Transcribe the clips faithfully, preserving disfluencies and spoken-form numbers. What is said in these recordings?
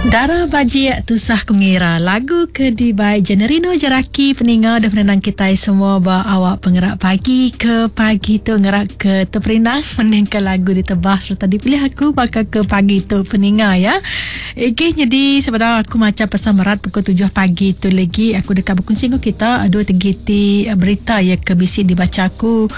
Dara Bajik Tusah Ku Ngira lagu ke dibai Generino Jeraki peninga dah penenang kitai semua ba awak pengerak pagi ke pagi tu ngerak ke teperindang mendingka lagu ditebah sereta dipilih aku baka ke pagi tu peninga ya. Egi nyadi sebedau aku macha pesan merat pukul tujuh pagi tu lagi aku deka bekunsi enggau kita dua tiga iti berita ya ke bisi dibacha aku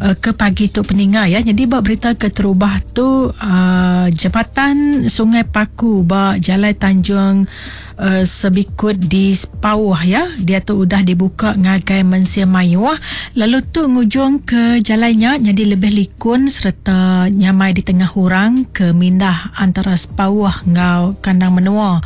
uh, ke pagi tu peninga ya. Jadi ba berita keterubah tu uh, jabatan Sungai Paku ba Jalai Tanjung uh, Sebikut di Sepauh ya. Dia tu udah dibuka ngagai mensia mayuh lalu tu ngujung ke jalainya jadi lebih likun serta nyamai di tengah orang ke mindah antara Sepauh ngau kandang menua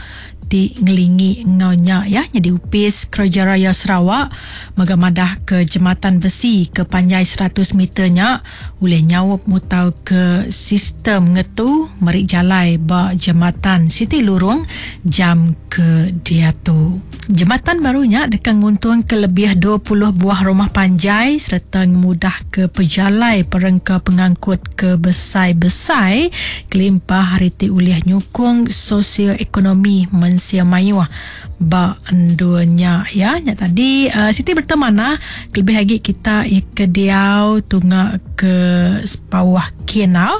ti ngelingi ngau nya ya. Jadi Upis Kerja Raya Sarawak mega madah ke jematan besi ke panjai seratus meter nya ulih nyaup mutau ke sistem ngetu meri jalai ba jematan Siti Lurung jam ke diatu. Jematan barunya deka nguntung ke lebih dua puluh buah rumah panjai serta ngemudah ke pejalai perengka pengangkut ke besai-besai kelimpah hari ti ulih nyukung sosioekonomi mensia mayuh ba dunya ya. Nya tadi uh, Siti bertemana kelebih lagi kita ya ke diau tunga ke Sepauh Kinau.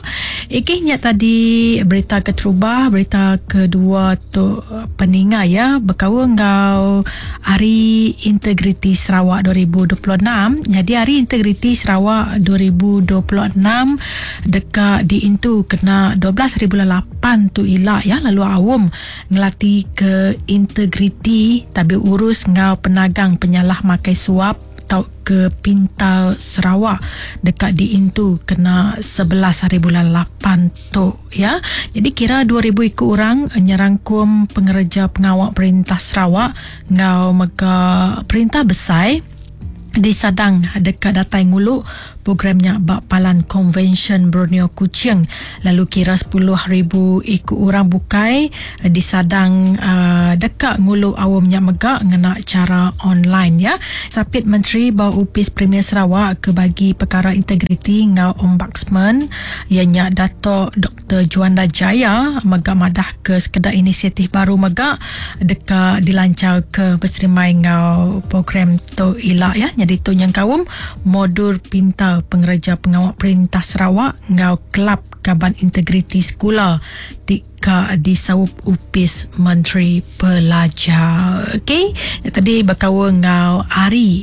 Iki nya tadi berita keterubah, berita kedua tu peninga ya berkaul ngau Hari Integriti Sarawak dua ribu dua puluh enam. Jadi Hari Integriti Sarawak dua ribu dua puluh enam deka diintu kena dua belas hari bulan lapan tu ila ya, lalu awam ngelati ke integriti tabi urus ngau penagang penyalah makai suap tau ke Pintar Sarawak dekat diintu kena sebelas hari bulan lapan tu ya. Jadi kira dua ribu ikut orang nyerangkum pengerja pengawal perintah Sarawak ngau mega perintah besar disadang dekat datai ngulu programnya bak Palan Konvensyen Borneo Kuching. Lalu kira sepuluh ribu ikut orang bukai disadang uh, dekat ngulu awamnya megak ngena cara online ya. Sapit Menteri Bau Upis Premier Sarawak ke bagi perkara integriti ngau ombudsman ianya Dato' Doktor Juanda Jaya megak madah ke sekedar inisiatif baru megak dekat dilancar ke berserimai ngau program tu ila ya. Jadi tu yang kaum modul pintar pengerja pengawal perintah Sarawak ngau kelab kaban integriti sekolah tika disaup Upis Menteri Pelajar. Okey, tadi berkaul ngau Hari